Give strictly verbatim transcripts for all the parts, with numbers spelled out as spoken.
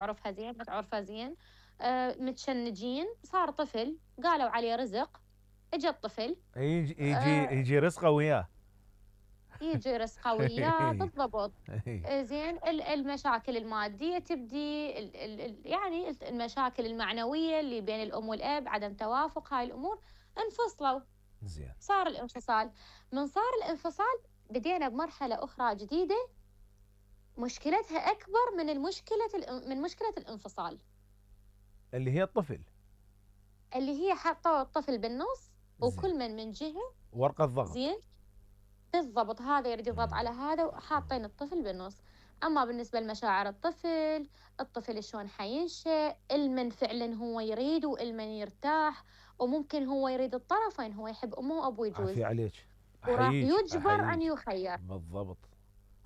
تعرفها زين ما تعرفها زين. آه متشنجين، صار طفل قالوا عليه رزق. اجى الطفل. يجي يجي آه يجي رزقه وياه. يجي رزقه وياه اي بالضبط. اي آه زين، ال- المشاكل المادية تبدي، ال- ال- ال- يعني المشاكل المعنوية اللي بين الأم والأب، عدم توافق، هاي الأمور انفصلوا. زين. صار الانفصال. من صار الانفصال بدينا بمرحلة أخرى جديدة، مشكلتها أكبر من المشكلة الإن- من مشكلة الانفصال، اللي هي الطفل. اللي هي حطوا الطفل بالنص زين. وكل من من جهة. ورقة ضغط. زين، بالضبط، هذا يريد يضغط مم. على هذا وحاطين الطفل بالنص. أما بالنسبة لمشاعر الطفل، الطفل شلون حينشأ، المن فعلا هو يريد والمن يرتاح، وممكن هو يريد الطرفين، هو يحب أمه وأبوه عافية يجوز، عليك. وراح احييك يجبر أن احييك. يخير. بالضبط.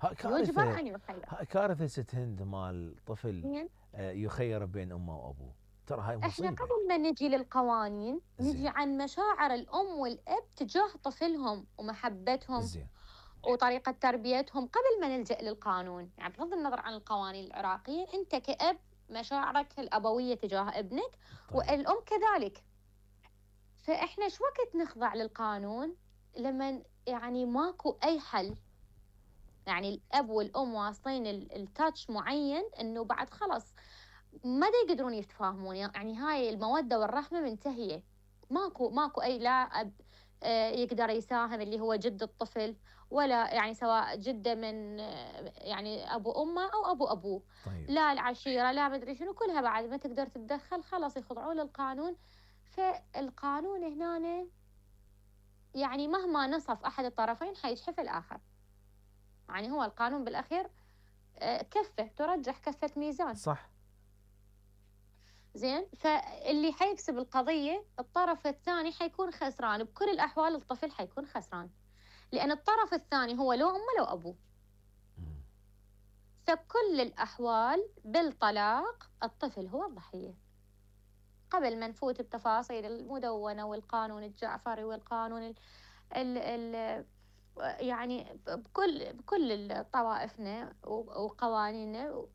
ها يجبر كارثة. أن يخير. ها كارثة ست هند مال طفل زين، آه، يخير بين امه وابوه. ترى هاي احنا مصيبة. قبل ما نجي للقوانين نجي زين. عن مشاعر الأم والأب تجاه طفلهم ومحبتهم زين. وطريقة تربيتهم قبل ما نلجأ للقانون. يعني بغض النظر عن القوانين العراقية، أنت كأب مشاعرك الأبوية تجاه ابنك، طيب. والأم كذلك. فإحنا شو وقت نخضع للقانون؟ لما يعني ماكو أي حل، يعني الأب والأم واصلين ال- التاتش معين إنه بعد خلص ما دا يقدرون يتفاهمون، يعني هاي المودة والرحمة منتهية. ماكو ماكو أي لا أب آه، يقدر يساهم اللي هو جد الطفل، ولا يعني سواء جده من آه، يعني أبو أمه أو أبو أبوه. طيب. لا العشيرة لا مدري شنو، كلها بعد ما تقدر تتدخل خلاص يخضعون للقانون. فالقانون هنا يعني مهما نصف أحد الطرفين حيجحف الآخر. يعني هو القانون بالأخير آه، كفة ترجح كفة ميزان. صح. زين، فاللي حيكسب القضية الطرف الثاني حيكون خسران بكل الأحوال، الطفل حيكون خسران، لأن الطرف الثاني هو لو أمه لو أبوه. مم. فبكل الأحوال بالطلاق الطفل هو الضحية. قبل ما نفوت بتفاصيل المدونة والقانون الجعفري والقانون ال ال ال يعني بكل بكل طوائفنا وقوانيننا،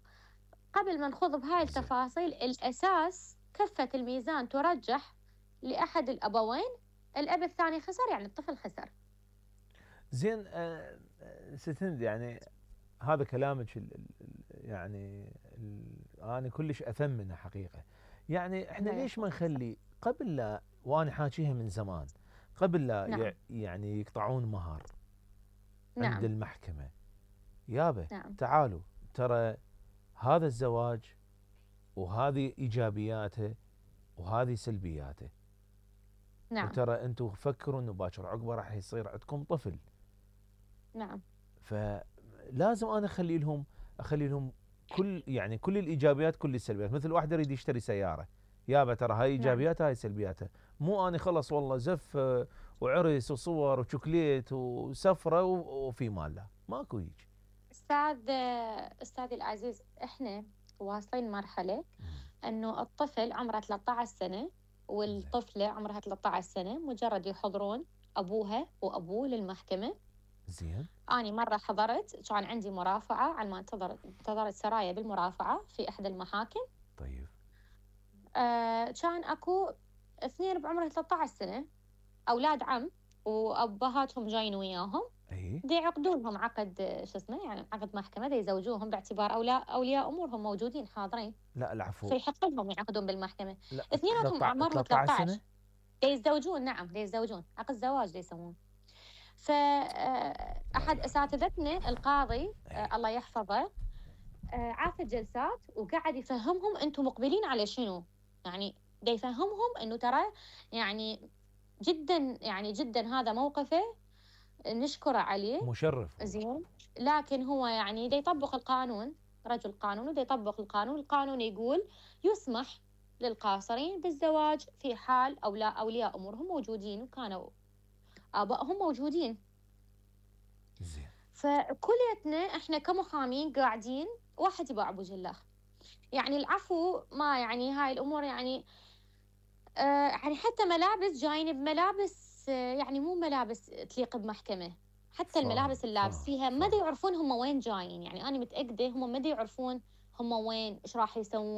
قبل ما نخوض بهاي زين. التفاصيل، الأساس كفة الميزان ترجح لأحد الأبوين، الأب الثاني خسر يعني الطفل خسر. زين. آه، آه، ست هند يعني هذا كلامك ال ال يعني ال انا كلش اثمنه حقيقه. يعني احنا الله ليش ما يحفظك. نخلي قبل لا، وانا حاكيها من زمان، قبل لا نعم. يع- يعني يقطعون مهر عند نعم. المحكمه، يابا نعم. تعالوا ترى هذا الزواج وهذه ايجابياته وهذه سلبياته، نعم. وترى انتم فكروا انه باكر عقبه راح يصير عندكم طفل. نعم. فلازم انا اخلي لهم اخلي لهم كل يعني كل الايجابيات كل السلبيات. مثل واحد يريد يشتري سياره، يابا ترى هاي نعم. ايجابياتها هاي سلبياتها. مو اني خلص والله زف آه، وعرس وصور وشوكليت وسفره و- وفي مال، لا ماكو هيك. أستاذ أستاذي العزيز، إحنا واصلين مرحلة أنه الطفل عمره ثلاثة عشر سنة زين. والطفلة عمرها ثلاثة عشر سنة، مجرد يحضرون أبوها وأبوه للمحكمة. زين. أنا مرة حضرت، كان عندي مرافعة على ما انتظر انتظرت سرايا بالمرافعة في إحدى المحاكم. طيب. آه كان أكو اثنين بعمر ثلاثة عشر سنة، أولاد عم وأبهاتهم جايين وياهم، اي. دي يعقدون لهم عقد آه، شو اسمه يعني عقد محكمة، دي يزوجوهم باعتبار أولياء أولياء أمورهم موجودين حاضرين، لا العفو. فيحق لهم يعقدون بالمحكمة. لا اثنيناتهم أعمارهم ثلاثة عشر ثلاثة عشر. سنه. دي يتزوجون، نعم دي يتزوجون عقد زواج دي يسمون. لا فأحد اله الا الله. أساتذتنا القاضي آه، اي. الله يحفظه آه، عاف الجلسات وقاعد يفهمهم انتم مقبلين على شنو. يعني دا يفهمهم انه ترى يعني جدا يعني جدا هذا موقفه نشكره عليه. مشرف والله. زين، لكن هو يعني دا يطبق القانون، رجل قانون ودا يطبق القانون. القانون يقول يسمح للقاصرين بالزواج في حال أو لا أولياء أمورهم موجودين وكانوا آبائهم موجودين. زين. فكليتنا احنا كمحامين قاعدين واحد يباع ابو جلاخ. يعني العفو ما يعني هاي الامور يعني آه يعني حتى ملابس جايين بملابس آه يعني مو ملابس تليق بمحكمة. حتى فاهم الملابس اللي فاهم لابسيها ما دا فاهم. يعرفون هم وين جايين. يعني انا متأكدة هم ما دا يعرفون هم وين، ايش راح يسوون.